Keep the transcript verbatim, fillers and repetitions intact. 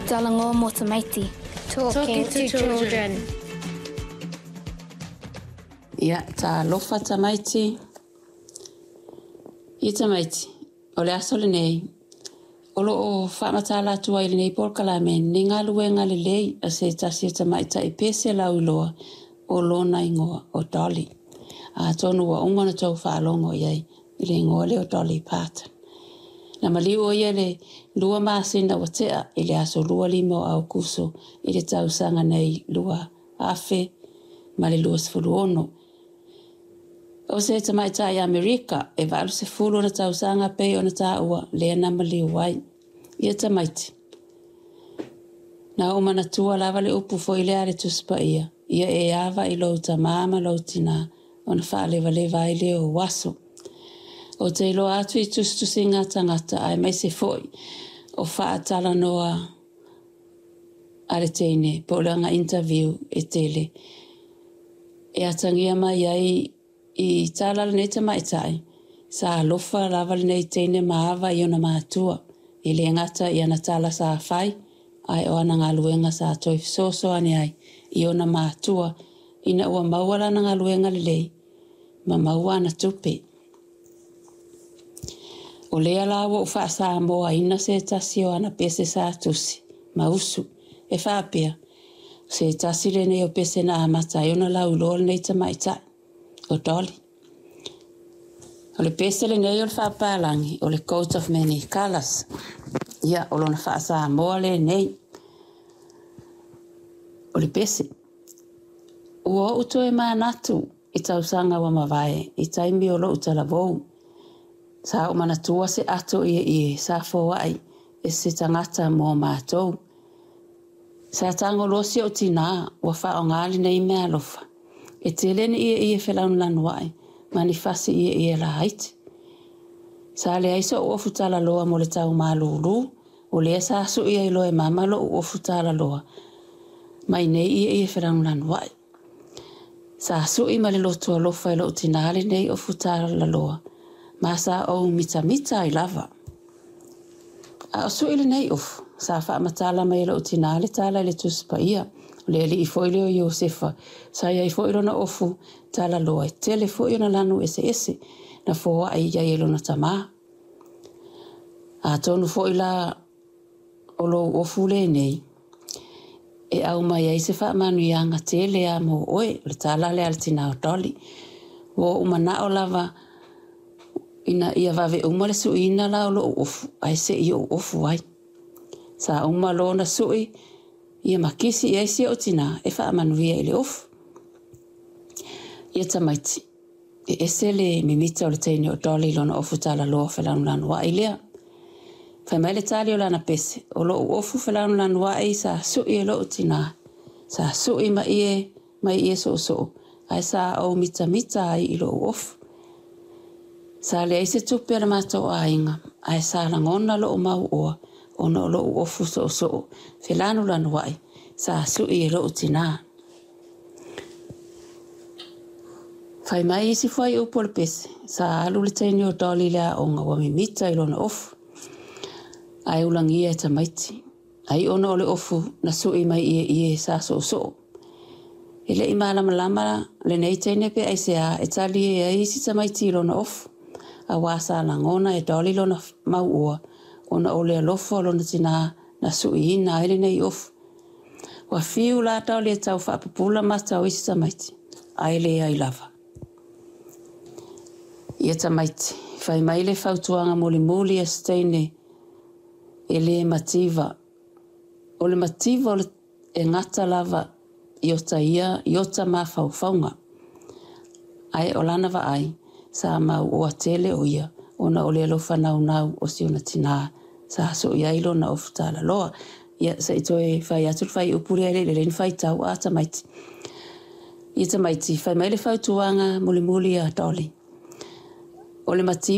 Talanoa mo tamaiti. Talking to children. Ia, talofa tamaiti. Ia tamaiti, o le aso lenei, o loo faamatala atu ai i lenei polokalame ni galuega lelei a se tasi o tamaitai pese lauiloa o lona igoa o Dolly. Atonu ua uma ona tou faalogo i ai i le igoa lea o Dolly Parton. Na maliu o ia le lua masina ua tea i le aso lua lima o Aukuso i le tausaga nei lua afe ma le lua sefulu ono. O se tamaitai Amerika e valu sefulu ona tausaga pei ona taua lea na maliu ai. Ia tamaiti, na ou manatua lava le upu foi lea a le Tusi Paia, ia e ava i lou tamā ma lou tinā, ona faalevaleva ai lea o ou aso. Ou te iloa atu i tusitusiga a tagata aemaise foi o faatalanoa a le teine po o le aga interview e tele e atagia mai ai i tala a lenei tamaitai sa alofa lava lenei teine ma ava i ona matua e le gata i ana tala sa fai ae o ana galuega sa toe fesoasoani ai i ona matua ina ua maua lana galuega lelei ma maua ana tupe. O lea la ua ou faasamoaina se tasi o ana pese sa tusi ma usu e faapea, o se tasi lenei o pese na amata ai ona lauiloa lenei tamaitai, o Dolly. O le pese lenei o le faapapalagi o le Coat of Many Colours. Ia, o lona faasamoa lenei o le pese. Ua ou toe manatu i tausaga ua mavae i taimi o lou talavou. Sa ou manatua se ato ieie sa foai e se tagata mo matou. Sa tago loa si ou tinā ua faaaoga lenei meaalofa. E tele ni ieie felanulanuai ma ni fasi ieie laiti. Sa leai so'u ofu talaloa mo le tau malūlū, o lea sa su'i ai loa e mama lo'u ofu talaloa mai nei ieie felanulanuai. Sa su'i ma le loto alofa e lo'u tinā lenei ofu talaloa, ma sa ou mitamita ai lava. A o su'i lenei ofu, sa faamatala mai e lo'u tinā le tala i le Tusi Paia, o le alii foi lea o Iosefa, sa i ai foi lona ofu talaloa e tele foi ona lanu eseese na foai i ai e lona tamā. Atonu foi la o lou ofu lenei e aumai ai se faamanuiaga tele lava mo oe, o le tala lea a le tinā o Dolly. Ua ou manao lava ina ia vave uma le suiina la o lou ofu ae se i ou ofu ai. Sa uma loa ona sui ia ma kisi i ai si ou tinā e faamanuia i le ofu. Ia tamaiti, e ese le mimita o le teine o Dolly i lona ofu talaloa felanulanuai lea. Fai mai le tali o lana pese, o lou ofu felanulanuai sa sui e lou tinā, sa sui ma ie mai ie soosoo, ae sa ou mitamita ai i lou ofu. Sa leai se tupe a le matou aiga, ae sa lagona lou mauoa ona o lou ofu soosoo felanulanuai sa sui e lou tinā. Fai mai isi fuaiupu o le pese, sa alu le teine o Dolly i le aoga ua mimita i lona ofu, ae ulagia e tamaiti. Ai ona o le ofu na sui mai ieie sa soosoo. E le i malamalama lenei teine pe aisea e talie ai isi tamaiti i lona ofu, auā sa lagona e Dolly lona mauoa ona o le alofa o lona tinā na suiina ai lenei ofu. Ua fiu la Dolly e tau faapupula mata o isi tamaiti, ae leai lava. Ia tamaiti, fai mai le fautuaga mulimuli a se teine e le mativa. O le mativa o le e gata lava i ota ia i ota mafaufauga. Ae o lana vaai, sa mauoa tele o ia ona o le alofa naunau o si ona tinā sa sui ai lona ofu talaloa. Ia, se i toe fai atu le fuaiupu lea e le i lelei ona faitau a tamaiti. Ia tamaiti, fai mai le fautuaga mulimuli a Dolly. O le mativa